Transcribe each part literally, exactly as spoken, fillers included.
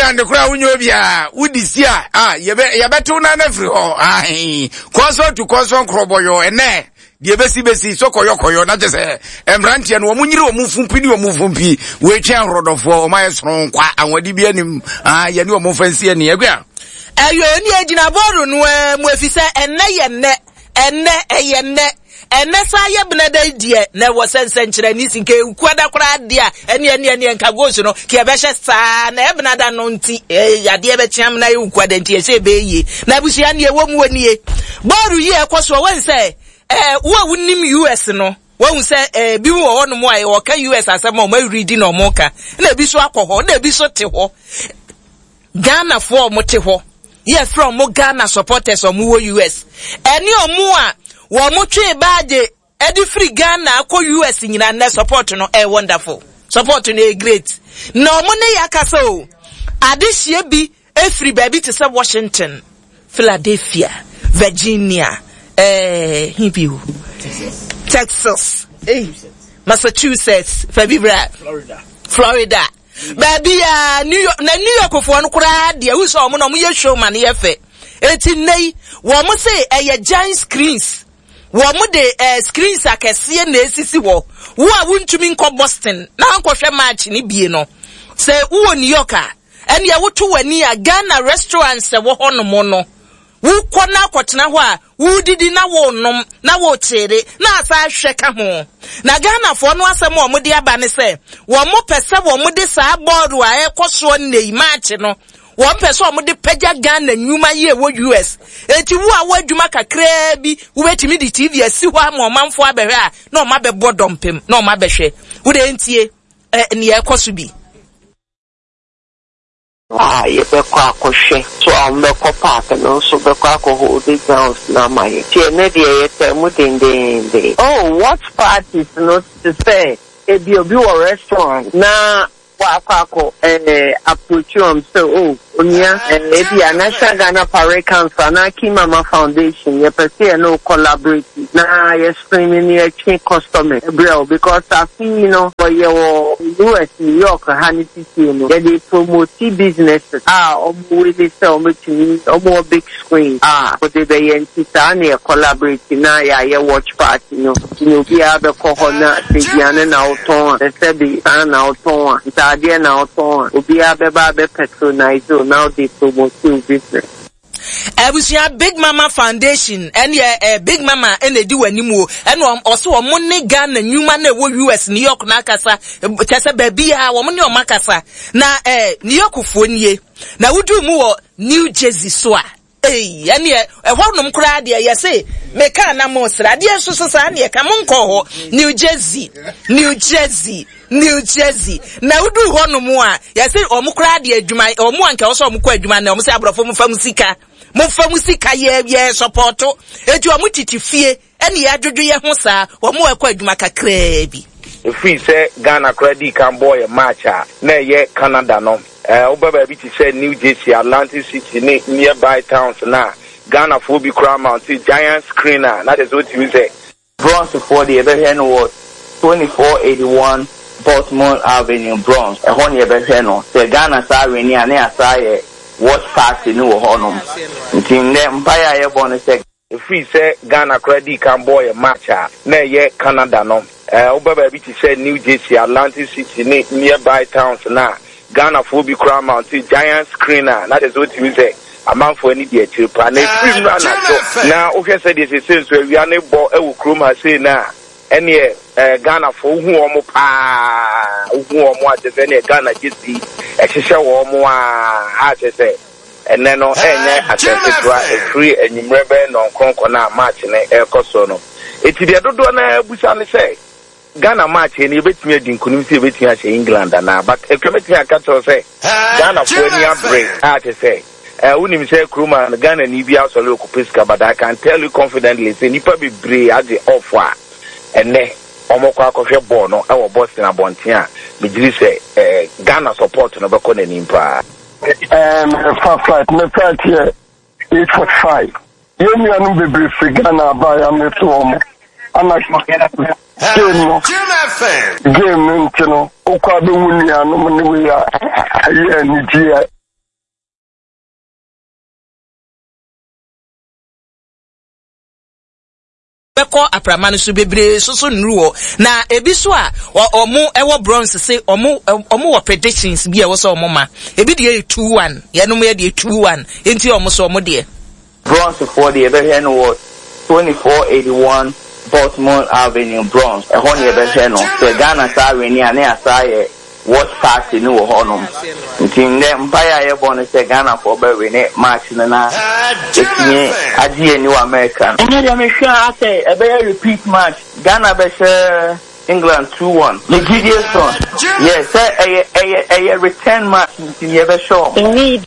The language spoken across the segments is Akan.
England koraa wonyɛ obiara wodi si a a yɛbɛ yɛbɛtew nan afiri hɔ ahe kɔnsɔn to kɔnsɔn korɔbɔyɔ ɛnɛ deɛ bɛsi bɛsi so kɔyɔ kɔyɔ na kyɛ sɛ mmeranteɛ no wɔn nyere wɔn fumpi ne wɔn fumpi wɔatwa ahorɔdɔfoɔ wɔn ayɛ soronko ahoɔden bi anim ah yɛne wɔn fa nsi ani akua. Ɛyɛ oni egyina bɔɔlo no ara mu efisɛ ɛnɛ yɛ nnɛ, ɛnɛ ɛyɛ nnɛ, ɛnɛ saa yɛ benada yi deɛ na ɛwɔ sɛ nsɛnkyerɛnne si nka ekuada koraa deɛ a ɛne ɛne ɛne nka goals no ka yɛbɛhyɛ saa na ɛbenada no nti ɛɛ adeɛ bɛkyea mu na yɛ ukuada nti yɛhyɛ ɛbɛyɛ yie. Na abusua neɛ ɛwɔ mu wɔ nie, bɔɔlo yi a ɛkɔ soɔ wɔn sɛ ɛɛ wo a wonim U S no wɔn sɛ ɛɛ bi wɔ hɔnom a wɔka U S asɛm a wɔn awuridi na wɔn ka, na ebi so akɔ hɔ na ebi so te hɔ. Ghanafoɔ a wɔte hɔ yɛfrɛ wɔn Ghana supporters a wɔwɔ U S ɛne wɔn a wɔn twe baagye ɛde firi Ghana akɔ U S nyinaa, nnɛ support no ɛyɛ wonderful, support no ɛyɛ great. Na wɔn ne yɛ akasa o, adehyia bi efiri baabi te sɛ Washington, Philadelphia, Virginia, ɛɛ hin bi o, Texas, eh, Massachusetts, fɛbi bra. Florida. Florida, baabi a New York, na New York foɔ no koraa deɛ wusɛ ɔmo na ɔmo yɛ show ma no yɛ fɛ. Eti nne yi wɔn se ɛyɛ giant screens, wɔn de ɛɛ screens akɛseɛ na esisi hɔ. Wo a wuntumi nkɔ Boston na nkɔhwɛ match ne bie no, sɛ wowɔ New York a, ɛnneɛ woto w'ani a Ghana restaurants ɛwɔ hɔ nom no, wokɔ na akɔtena hɔ a wodidi na wonom na wokyere na asa ahwɛ ka ho. Na Ghanafoɔ no asɛm a wɔde aba ne sɛ wɔn pɛ sɛ wɔn de saa bɔɔlo a ɛkɔ soɔ nne yi match no, wɔn pɛ sɛ wɔn de pagya Ghana nnwuma yi a ɛwɔ U S. Eti wo a wo adwuma kakraa bi wobɛtumi de T V asi hɔ ama ɔmanfoɔ abɛhwɛ a na wɔn abɛbɔ dɔmpem na wɔn abɛhwɛ. Wode ntie ɛ nea ɛkɔ so bi. A yɛbɛkɔ akɔhwɛ so a wɔbɛkɔ park no nso bɛkɔ akɔ hold grounds na ama yɛ nti ɛnɛ deɛ yɛtɛ mu dendenden. Oh, watch parties no te sɛ ebi obi wɔ restaurant na wakɔ akɔ ɛɛ approach wɔn sɛ, "Oh, onua, ɛɛ ebi a National Ghana Parade Council anaa Kimama Foundation, yɛpɛ sɛ yɛne wo collaborate na yɛ screen ne yɛtwe customer ɛbrɛ o," because afi yi no wɔyɛ wɔ U S, New York ha ne titire no, yɛde promote businesses a ɔmo wele sɛ ɔmo tumi ɔmo wɔ big screen a wɔde bɛyɛ. Nti saa na yɛ collaborate na yɛayɛ watch party no. Nti na obiara bɛkɔ hɔ na sɛ aduane na wotɔn a, sɛ bi saa na wotɔn a, ntaadeɛ na wotɔn a, obiara bɛba abɛ patronize o na wode promote wo business. Abusua, Big Mama Foundation ɛne ɛ Big Mama ɛna edi wɔn anim o, ɛna ɔso wɔn ne Ghana nnwuma na ɛwɔ U S, New York n'akasa kyɛ sɛ baabi a wɔn ne wɔn akasa na ɛ New York foɔ nie. Na wodu mu wɔ New Jersey so a, ee, ɛneɛ ɛhɔ nom koraa deɛ yɛse meka na mo sra adeɛ nso so saa neɛ ka mo nkɔ hɔ New Jersey, New Jersey, New Jersey. Na wodu hɔ nom a, yɛse ɔmo koraa deɛ adwuma ɔmo anka wɔ sɛ ɔmo kɔ adwuma na ɔmo sɛ aborɔfo mo fa mo sika, mo fa mo sika yɛ yɛ support. Eti ɔmo tete fie ɛne yɛ adwodwo yɛ ho saa, ɔmo ɛkɔ adwuma kakraa bi. Ɛfiri sɛ Ghana koraa dii kan bɔɔ yɛ match a na ɛyɛ Canada no, ɛɛ woba baabi te sɛ New Jersey, Atlantic City ne nearby towns na Ghanafoɔ bi koraa mount giant screen a na kyerɛ sɛ wotumi sɛ Bronxfoɔ deɛ, yɛbɛhwɛ no wɔ twenty four eighty one Baltimore Avenue, Bronx. Ɛhɔ ne yɛbɛhwɛ no. Sɛ Ghana saa win a, ne yɛasa yɛ watch party no wɔ hɔnom. Nti nnɛ mpaeɛ a yɛbɔ no sɛ ɛfiri sɛ Ghana koraa dii kan bɔɔ yɛ match a na ɛyɛ Canada no, ɛɛ woba baabi te sɛ New Jersey, Atlantic City ne nearby towns na Ghanafoɔ bi koraa mount giant screen a na kyerɛ sɛ wotumi sɛ amanfoɔ ani di akyire paa. Na ɛfiri mu anadwo na wohwɛ sɛ deɛ sese nso awia ne bɔ ɛwɔ kurom ha sei no a, ɛneɛ ɛɛ Ghanafoɔ wohu wɔn paa, wohu wɔn a kyerɛ sɛ ɛneɛ Ghana jersey ɛhyehyɛ wɔn a a kyerɛ sɛ ɛnɛ no ɛnyɛ asɛm ketewa. Ɛfiri anwummerɛ bɛyɛ nɔnkronkron no a match no ɛrekɔ so no, eti deɛ dodoɔ no abusa ne sɛ Ghana match no yɛbɛtumi adi nkonim, sɛ yɛbɛtumi ahyɛ England anaa. But atwa mɛtumi aka kyerɛw sɛ Ghanafoɔ ani abere a kyerɛ sɛ ɛɛ wonim sɛ kurom a no Ghana ni bi asɔre okɔpɛ sika, but I can tell you confidently sɛ nipa bebree agye off a ɛnɛ wɔn kɔ akɔhwɛ bɔɔl no ɛwɔ Boston abɔnten a megyiri sɛ ɛɛ Ghana support no bɛkɔ n'anim paa. Um, fa flight, me flight yɛ eight forty-five. Yɛn nuanom bebree firi Ghana aba a yɛameto wɔn ana game no game no nti no wokɔ abɛhu nuanom ne wei a ɛyɛ anigyeɛ. Bɛkɔ aprama no so bebree soso nnuru hɔ, na ebi so a ɔmo ɛwɔ Bronx se ɔmo ɔmo wɔ predictions bi a ɛwɔ sɛ ɔmo ma. Ebi deɛ yɛ two one, yɛnom yɛ deɛ two one, nti ɔmo so ɔmo deɛ. Bronxfoɔ deɛ, yɛbɛhwɛ no wɔ twenty-four eighty-one Baltimore Avenue, Bronx. Ɛhɔ ne yɛbɛhwɛ no. Sɛ Ghana saa win a, ne yɛasa yɛ watch party no wɔ hɔnom. Nti ndɛ mpaeɛ a yɛbɔ no sɛ Ghanafoɔ bɛwin match no na yɛtumi agye yɛn ni wɔ America no. Ɛnyɛ deɛ mehwɛ a, asɛ ɛbɛyɛ repeat match. Ghana bɛhyɛ England two one. Ne gyidie so yɛ sɛ ɛyɛ ɛyɛ ɛyɛ return match, nti yɛbɛhyɛ ɔmo.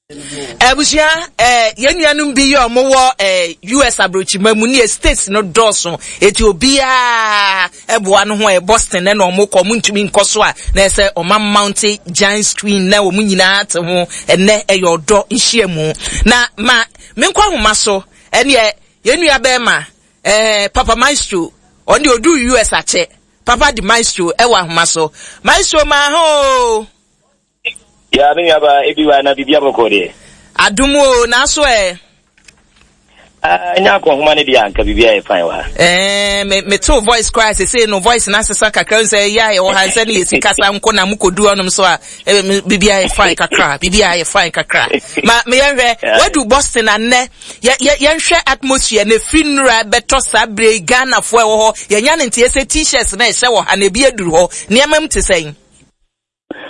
Abusua, ɛɛ yɛn nuanom bi yɛ ɔmo wɔ ɛɛ U S aburokyima mu ne yɛ states no dɔɔso, eti obiara ɛboa no ho. Ɛyɛ Boston ɛna ɔmo kɔ, ɔmo ntumi nkɔ so a, na ɛsɛ ɔmo mount giant screen na ɔmo nyinaa te ho. Ɛnɛ ɛyɛ ɔdɔ nhyiamu na ma menkɔ ahoma so. Ɛneɛ yɛn nua bɛrima ɛɛ Papa Maestro, ɔno deɛ odu U S akyɛ. Papa di Maestro ɛwɔ ahoma so. Maestro, maa ho. Ya, me nuaba ebi wa, na biribi abɔkɔ deɛ? Adum o, n'aso ɛ. Ɛnyɛ akɔnhoma no deɛ, anka biribi ayɛ fine wɔ ha. Ɛɛ me me to voice koraa sese no, voice na asesa kakra sɛ yɛ a yɛwɔ ha nsɛ ne yɛsi kasa nko na mokɔdu hɔnom so a, ɛbɛ biribi ayɛ fine kakra, biribi ayɛ fine kakra. Ma me yɛnhwɛ, wadu Boston anɛ, yɛ yɛ yɛnhwɛ atmosphere na efiri nnura bɛtɔ saa bere yi, Ghanafoɔ ɛwɔ hɔ, yɛnya ne nti yɛsɛ T-shirts na ɛhyɛ wɔ ha na ebi aduru hɔ, nneɛma mu te sɛn?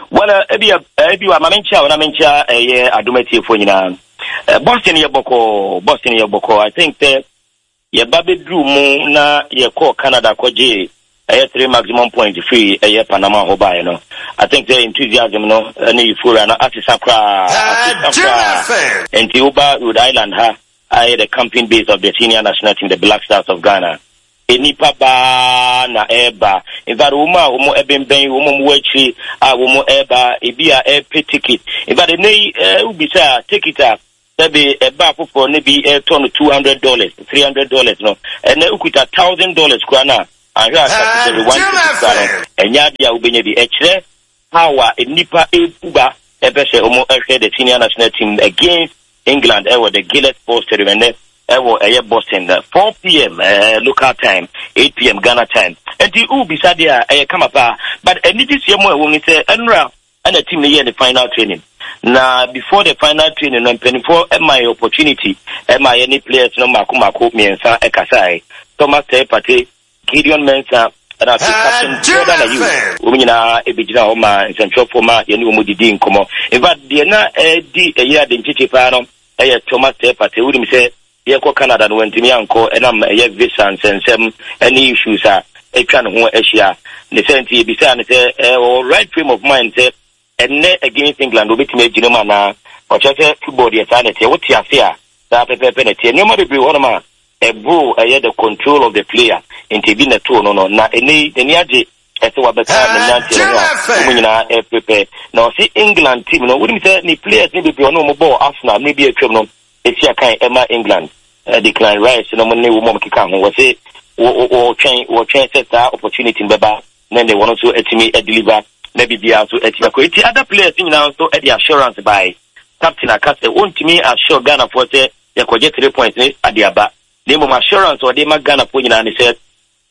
Well, ebi ebi wa, ma menkyia wo na menkyia ɛyɛ Adom atiefoɔ nyinaa. Boston yɛ bɔkɔɔ, Boston yɛ bɔkɔɔ. I think sɛ yɛba bɛduru mu na yɛkɔɔ Canada kɔgye ɛyɛ three maximum point firi ɛyɛ Panama hɔ baeɛ no, I think sɛ enthusiasm no ne euphoria no asesa koraa, asesa koraa. Nti woba Rhode Island ha ayɛ the camping base of the senior national team, the Black Stars of Ghana, nipa baa na ɛreba. In fact, wɔn a wɔn ɛbɛnbɛn wɔn a wɔwɔ akyiri a wɔn ɛreba, ebi a ɛrepɛ ticket. In fact, ɛnɛ yi ɛɛ wobisa ticket a, sɛbi ɛbaa foforɔ ne bi ɛretɔ no two hundred dollars, three hundred dollars no, ɛnɛ okuta thousand dollars koraa na ahwɛ a category one ticket koraa no, ɛnyɛ adeɛ a wobɛnya bi. Ɛkyerɛ how a nipa ebu ba ɛpɛ sɛ wɔn ɛhwɛ the senior national team against England ɛwɔ the Gillette Sports Stadium ɛnɛ ɛwɔ ɛyɛ Boston, four p m. Uh, local time, eight p m. Ghana time. Nti wubisa deɛ a, ɛyɛ kama paa, but anigye sie mu a ɛwɔ mu ni sɛ ɛnura ɛna team no yɛ ne final training, na before the final training no, mpanimfoɔ ɛma yɛ opportunity ɛma yɛ ne players no mako mako mmiɛnsa ɛkasae: Thomas Teye Partey, Gideon Mensah, ɛna afei captain Jordan Ayew. Wɔn nyinaa ɛbɛgyina hɔ ma nsɛntwerɛfoɔ ma yɛne wɔn didi nkɔmmɔ. In fact, deɛ na ɛdi ɛyɛ ade nkyekye paa no ɛyɛ Thomas Teye Partey. Wonim sɛ yɛkɔ Canada no, wantumi ankɔ ɛnam ɛyɛ visa nsɛnsɛm ɛne issues a atwa ne ho ahyia ne sɛ. Nti yɛbisaa ne sɛ ɛwɔ right frame of mind sɛ ɛnnɛ against England obɛtumi agyina mu anaa. Ɔkyerɛ sɛ football deɛ, saa na ɛteɛ, wote ase a, saa pɛpɛɛpɛ na ɛteɛ. Nneɛma bebree wɔ hɔnom a ɛboro ɛyɛ the control of the player, nti ebi na ɛtoo no no na ɛnɛ yi n'ani agye ɛsɛ wabɛka ne mmeranteɛ no ho a wɔn nyinaa ɛprepare. Na ɔsi England team no, wonim sɛ ne players ne bebree ɔne wɔn bɔɔ Arsenal mmere bi atwam no esi akan ɛma England, Declan Rice no mo ne wɔn a wɔkeka ho. Wɔsi wɔtwɛn wɔtwɛn sɛ saa opportunity no bɛba na ne wɔn nso atumi deliver na biribiara nso atumi akɔ. Eti other players nyinaa nso de assurance bae. Captain aka sɛ wɔntumi assure Ghanafoɔ sɛ yɛkɔgye three points ne ade aba, na mmom assurance a ɔde ma Ghanafoɔ nyinaa ne sɛ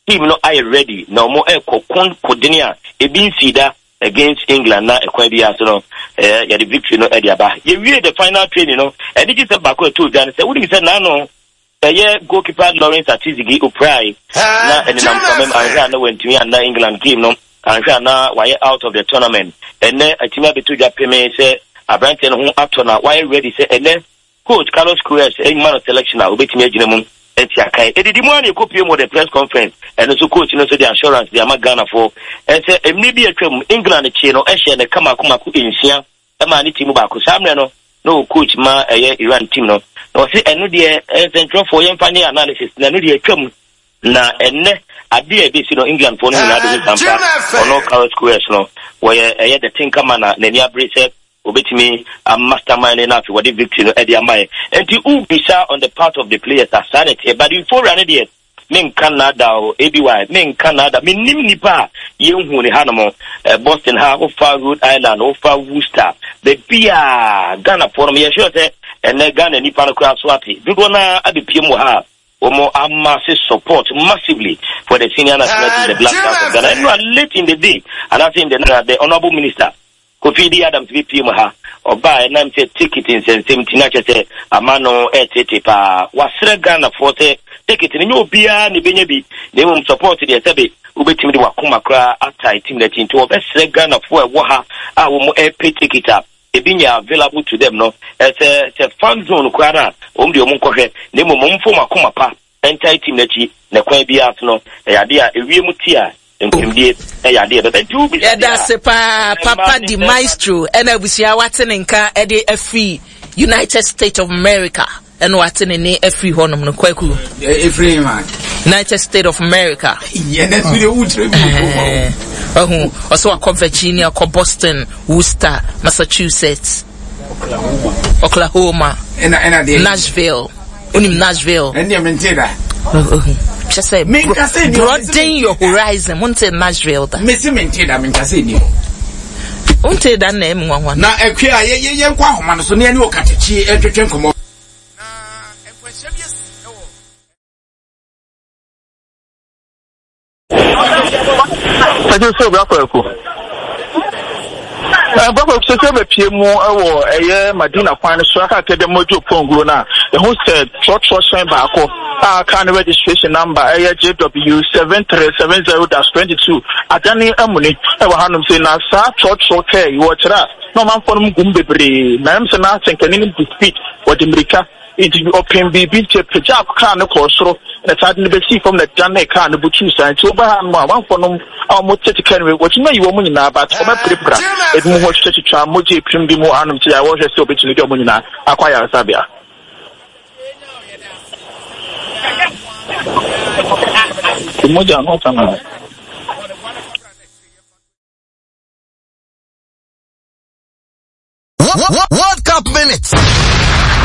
team no ayɛ ready na wɔn ɛkɔ kon kodene a ebi nsi da against England, na ɛkwan bi ase no ɛɛ yɛde victory no ɛde aba. Yɛwie the final training no, ɛde gye sɛ baako ɛto dwa no sɛ wonim sɛ n'ano ɛyɛ goalkeeper Lawrence Atizigi oprai na ɛnenam famam, anhwɛ a na wantumi anna England game no, anhwɛ a na wayɛ out of the tournament. Ɛnɛ atumi abɛto dwa peme sɛ aberanteɛ no ho atɔ na wayɛ ready sɛ ɛnɛ coach Carlos Queiroz ɛnyima no selection a, obɛtumi agyina mu ɛti akan. Ɛdidi mu a na ɛkɔpie mu wɔ the press conference, ɛno nso coach no nso de assurance de ama Ghanafoɔ ɛsɛ mmiri bi atwam England kyee no ɛhyɛ ne kama mako nsia ɛma ne team baako. Saa mmerɛ no na ɔ coach ma ɛyɛ Iran team no, na ɔse ɛno deɛ nsɛntwerɛfoɔ yɛmfa ne analysis na ɛno deɛ atwam, na ɛnɛ adeɛ a ɛbɛsi no, Englandfoɔ no nyinaa bɛhu sampa. Ɔno Carlos Queiroz no wɔyɛ ɛyɛ the thinker man a n'ani abere sɛ obetumi a mastermind na afei wɔde victory no ɛde ama yɛ. Nti wobisa on the part of the players a, saa na ɛteɛ, but euphoria no deɛ, menka nada o, aby menka nada. Mennim nipa a yɛnhu ne hanom eh, Boston ha, wofa Rhode Island, wofa Worcester, baabi a Ghanafoɔ no, yɛhwɛ sɛ ɛnɛ Ghana nipa no koraa so ate dodoɔ no abɛpie mu wɔ ha a. Wɔn amass support massively for the senior national team, the Black Stars of Ghana. Ɛno late in the day, anaasɛ in the night, the honourable minister Kofi D Adams bi pie mu ha. Ɔbaa ɛnam sɛ ticket nsɛnsɛm ti na kyerɛ sɛ ama no ɛɛtete paa. Wasrɛ Ghanafoɔ sɛ ticket no nyɛ obiara na ebenya bi, na mmom support deɛ, sɛbe, wobɛtumi de wakoma koraa atae team n'akyi. Nti wɔbɛsrɛ Ghanafoɔ a ɛwɔ ha a wɔn ɛɛpɛ ticket a ebi nyɛ available to them no, ɛsɛ sɛ fan zone koraa no a, wɔn deɛ wɔn nkɔhwɛ, na mmom wɔn mfom akoma pa ɛntae team n'akyi, na kwan biara so no, ɛyɛ adeɛ a ewiem ti a nkonimdie ɛyɛ adeɛ bɛbɛ. Nti wobisa Yɛda ase paa, Papa Di Maestro. Ɛna abusua, wate ne nka ɛde afiri United States of America, ɛna wate ne ne afiri hɔnom no, Kwaku. Ɛfiri ma United States of America. Yɛn ɛso deɛ wokyerɛ bi wɔ Ɔhu ɔsɛ wakɔ Virginia, kɔ Boston, Worcester, Massachusetts, Oklahoma. Ɛna ɛna deɛ Nashville. Wonim Nashville? Ɛndeɛ mente da. Kyɛ sɛ Menka sɛ ni- broaden your horizon. Wonte Nashville da? Mese mente da, menka sɛ ni hɔ. Wonte da na ɛmu nwanwa. Na akua a yɛ- yɛ- yɛnkɔ ahoma no so ne ɛne ɔkatakyi ɛntwetwe nkɔmmɔ na nkwanhyia bi asi ɛwɔ Ɛgye sɛ obi akɔ ɛko. Bɔkɔ sɛ sɛ bɛpie mu wɔ ɛyɛ Madina kwan no so aka kɛ dɛ mɔdwo pɔnguo no a, ɛho sɛ trɔtrɔ hyɛn baako a kaa no registration number ɛyɛ J W seven three seven zero dash twenty-two adane amuni ɛwɔ hanom sɛ, na saa trɔtrɔ kaa yi wɔkyerɛ a na ɔmanfoɔ no mu gum bebree, na ɛm sɛ na asɛnkani no di speed, wɔde mmirika nti ɔpem biribi nti apagya kaa no kɔɔ soro na saa de no bɛsii fam na dane kaa no butuu saa. Nti woba ha nom a, amanfoɔ nom a wɔn tete kaa no mu wɔtumi ayi wɔn nyinaa, but wɔbɛpirapira ebi mu ho, twitwatwitwa mogya epirim bi mu anom ti a wɔhwɛ sɛ wɔbɛtumi de wɔn nyinaa akɔ ayaresabea. Mogya no ɔka na World Cup Minutes.